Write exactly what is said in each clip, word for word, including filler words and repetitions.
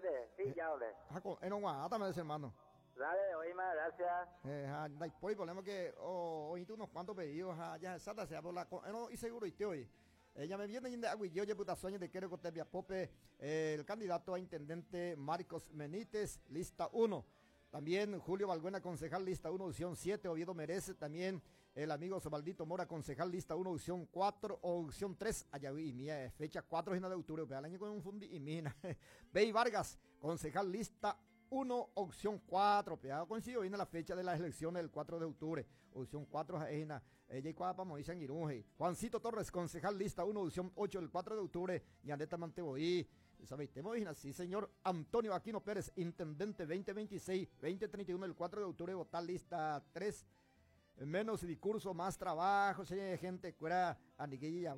Suerte, sí, ya hablé. Ha también, hermano. Dale, oíme, gracias. Eh, ja, no hay problema que hoy tú unos cuantos pedidos, ja, ya exacta sea por la no y seguro y te hoy. Ella me viene de Aguillo, puta sueño de quiero que Pope, el candidato a intendente Marcos Benítez, lista uno. También Julio Balbuena, concejal, lista uno, opción siete. Oviedo Merece, también el amigo Osvaldito Mora, concejal, lista uno, opción cuatro, opción tres. Allá vi, mía, fecha cuatro de octubre, al año con un fundi y mina. Bey Vargas, concejal, lista uno, opción cuatro. Pegado coincido, viene la fecha de las elecciones del cuatro de octubre. Opción cuatro, ella y Juancito Torres, concejal, lista uno, opción ocho, el cuatro de octubre. Ñandeta Manteboí. Sí, señor. Antonio Aquino Pérez, intendente veinte veintiséis, veinte treinta y uno, el cuatro de octubre, votar lista tres. Menos discurso, más trabajo, señor, gente, cuera, aniquilla,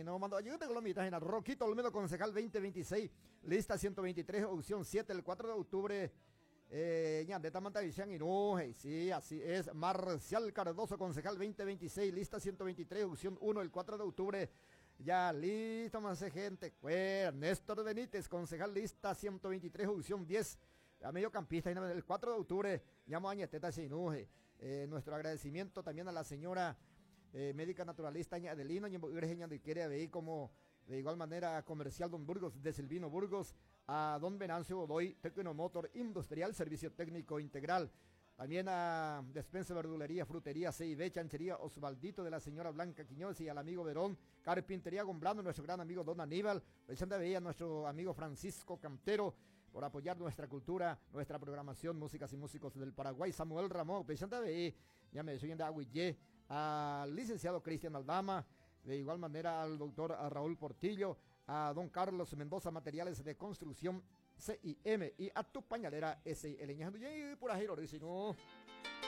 no mando, ayúdate con la mitad, Roquito Olmedo, concejal veinte veintiséis, lista ciento veintitrés, opción siete, el cuatro de octubre, eh, Ñandeta Mantavisian y no, sí, así es. Marcial Cardoso, concejal veinte veintiséis, lista ciento veintitrés, opción uno, el cuatro de octubre. Ya listo, más gente. Cuera. Néstor Benítez, concejal lista ciento veintitrés, opción diez. A mediocampista, el cuatro de octubre, llamo a Añeteta Sinuje. Eh, nuestro agradecimiento también a la señora eh, médica naturalista Adelina de como de igual manera comercial Don Burgos de Silvino Burgos, a Don Venancio Godoy, Tecnomotor Industrial, Servicio Técnico Integral. También a Despensa, Verdulería, Frutería, C y B, Chanchería Osvaldito de la señora Blanca Quiñones y al amigo Verón, Carpintería Gomblano, nuestro gran amigo Don Aníbal, Vicente Veía, nuestro amigo Francisco Cantero, por apoyar nuestra cultura, nuestra programación, músicas y músicos del Paraguay, Samuel Ramón, Vicente Veía, ya me de Aguillé, al licenciado Cristian Aldama, de igual manera al doctor Raúl Portillo, a don Carlos Mendoza, Materiales de Construcción C I M y a tu pañalera S I L. Y por ahí lo dice, no.